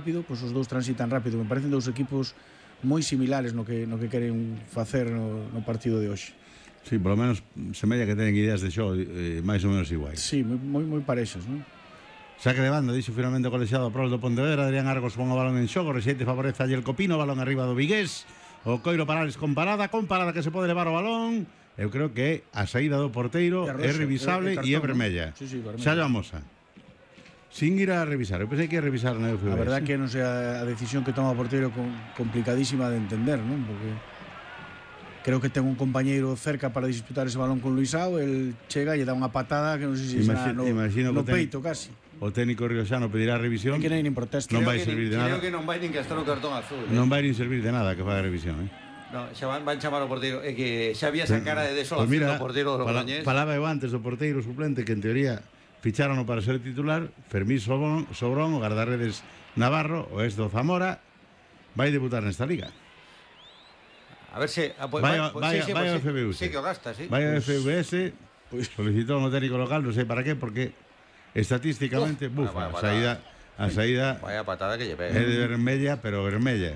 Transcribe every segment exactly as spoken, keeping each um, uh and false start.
rápido, pois os dous transitan rápido. Me parecen dous equipos moi similares no que, no que queren facer no, no partido de hoxe. Sí, por lo menos semella que teñen ideas de xogo eh, máis ou menos iguais. Sí, moi, moi parexas, non? Saque de banda, dixo finalmente o colexiado prol do Pontevedra. Adrián Argos pon o balón en xogo, Rexeite favorece a Yelko Pino, balón arriba do Vigués, o Coiro Parales con parada, con parada que se pode levar o balón. Eu creo que a saída do porteiro é revisable e é vermella. Sí, sí, vermella. Xa Amosa, sin ir a revisar, eu pensei que ia revisar na U F B. A verdad que non sei a decisión que toma o porteiro con, complicadísima de entender, non? Porque creo que ten un compañeiro cerca para disputar ese balón con Luisao, el chega e lle dá unha patada que non sei se Imagino, será no, imagino no ten, peito casi. O técnico rioxano pedirá revisión. É que non nin protesta. Non Creo vai que servir nin, de nada. Creo que non vai nin que estar o cartón azul. Eh? Non vai nin servir de nada que faga revisión, eh? No, xa van, van chamar o porteiro. É que xa había esa cara de desolación pues mira, do porteiro do pala, Logroñés. Falaba eu antes do porteiro suplente que en teoría ficharon para ser titular. Fermín Sobrón, Sobrón o guardarredes navarro, o ex do Zamora, vai debutar nesta liga. A ver se... Ah, pues, vai pues, vai, sí, sí, vai pues, ao F B U S. Sí que o gasta, sí. Vai ao F B S, pues, solicitou no técnico local, non sei para qué, porque estatísticamente, Uf, bufa, vaya, a vaya, saída, a saída Vaya patada que lle é pega. de vermella, pero vermella.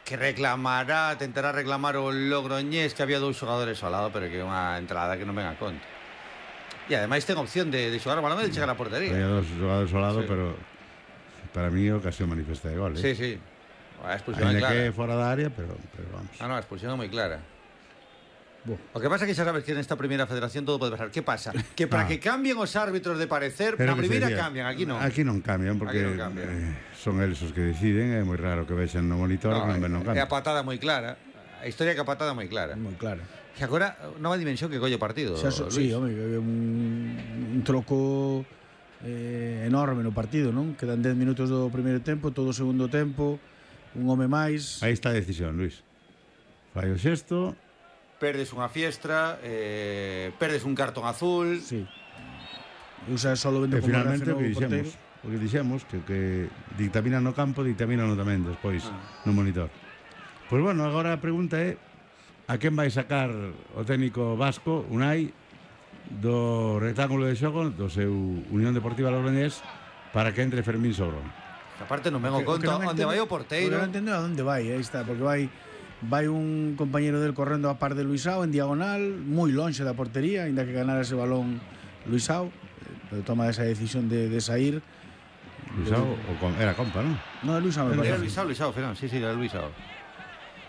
Que reclamará, tentará reclamar o Logroñés, que había dous xogadores ao lado, pero que é unha entrada que non ven a conta. E ademais ten opción de, de xogar o balón e de chegar á portería. Había dos xogadores ao lado, Sí. pero para mí é ocasión manifesta de gol, eh? Sí, sí. A expulsión é Ainda clara. que fora da área, pero, pero vamos. Ah, no, a expulsión é moi clara. Bo. O que pasa é que xa sabes que nesta primeira federación todo pode pasar. Que pasa? Que para Ah. que cambien os árbitros de parecer, Pero na que se primeira decía, cambian, aquí non. Aquí non cambian, porque Aquí non cambian. eh, son eles os que deciden. É moi raro que vexan no monitor No, que non ven non é a cambian. patada moi clara. A historia que a patada moi clara. Moi claro. E agora, nova dimensión que colle o partido, Xa, so, Luis. sí, home, un, un troco eh, enorme no partido, non? Quedan dez minutos do primeiro tempo, todo o segundo tempo, un home máis. Aí está a decisión, Luis. Fai o xesto. Perdes unha fiestra, eh, perdes un cartón azul. Sí. E usa solo vendo E como finalmente o reaccionou que o porteiro. dixemos, o que dixemos que, que dictamina no campo, dictamina no tamén despois Ah. no monitor. Pois bueno, agora a pregunta é a quen vai sacar o técnico vasco, Unai, do rectángulo de xogo do seu Unión Deportiva Logroñés para que entre Fermín Sobrón. Aparte non ven o O que- o que conto non onde entendo- vai o porteiro. o que non entendo a onde vai, aí está, porque vai vai un compañeiro del correndo a par de Luisao en diagonal, moi lonxe da portería, aínda que ganara ese balón Luisao, eh, pero toma esa decisión de, de sair. Luisao, o com, era compa, non? No, é Luisao, me Era parece. Luisao, Luisao, Fernán, sí, sí, era Luisao.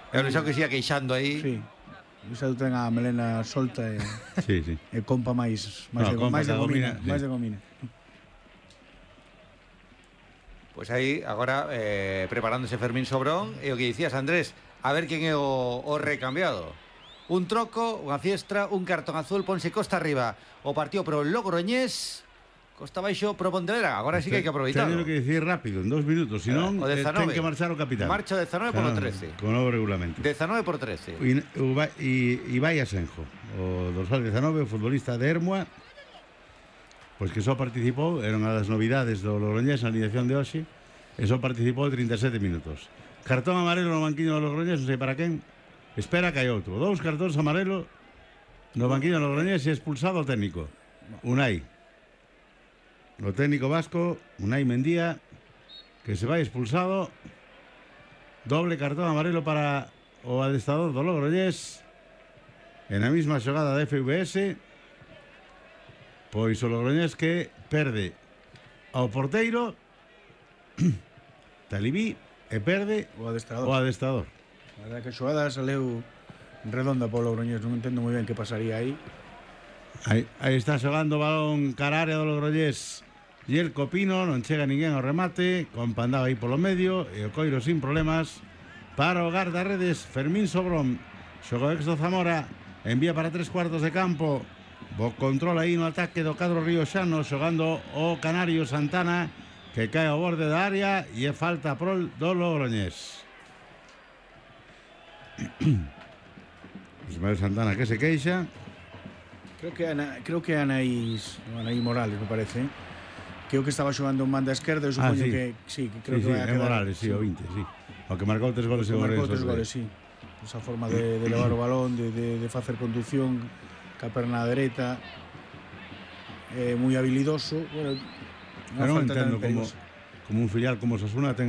Era Luisao que se ia queixando aí. Sí. Luisao ten a melena solta e, Sí, sí. e compa máis máis No, de, compa máis de que gomina, gomina, máis sí. de gomina. Pois aí, agora, eh, preparándose Fermín Sobrón, e o que dicías, Andrés, a ver quen é o, o recambiado. Un troco, unha fiestra, un cartón azul, ponse costa arriba o partido pro Logroñés, costa baixo pro Pontevedra. Agora sí que hai que aproveitarlo. Teño que dicir rápido, en dos minutos, senón O eh, dezanove. ten que marchar o capitán. Marcha o dezanove polo Claro, trece. Con novo regulamento. dezanove por trece. E, o vai- e, e vai Asenjo, o dorsal dezanove, o futbolista de Hermua, pois que só participou, era unha das novidades do Logroñés na alineación de hoxe, e só participou trinta e sete minutos. Cartón amarelo no banquiño do Logroñés, non sei para quen, espera que hai outro. Dous cartóns amarelo no banquiño do Logroñés e expulsado o técnico, Unai. O técnico vasco, Unai Mendía, que se vai expulsado. Doble cartón amarelo para o adestrador do Logroñés en a mesma xogada da F V S. Pois o Logroñés que perde ao porteiro Talibí e perde O adestrador. o adestrador. A verdade que a xogada saleu redonda polo Logroñés, non entendo moi ben que pasaría aí. Aí, aí está xogando o balón cara área do Logroñés e el Copino, non chega ninguén ao remate, con Pandao aí polo medio e o Coiro sin problemas para o guardarredes Fermín Sobrón. Xogo ex do Zamora, envía para tres cuartos de campo, bo control aí no ataque do cadro rioxano, xogando o Canario Santana, que cae ao borde da área e é falta prol do Logroñés. Ismael Santana que se queixa. Creo que Ana, creo que Anaís, Anaís Morales, me parece, ¿eh? que o que estaba xogando en banda esquerda, eu supoño Ah, sí. que sí, que creo Sí, que sí, vai a é quedar. Morales, sí, o vinte, sí. O que marcou tres goles Que en marcou Ourense. tres goles, sí. Esa forma de, de levar o balón, de, de, de facer conducción, ca perna dereita, eh, moi habilidoso. Bueno, unha Eu non falta entendo tamén como, perigosa. como un filial como Osasuna ten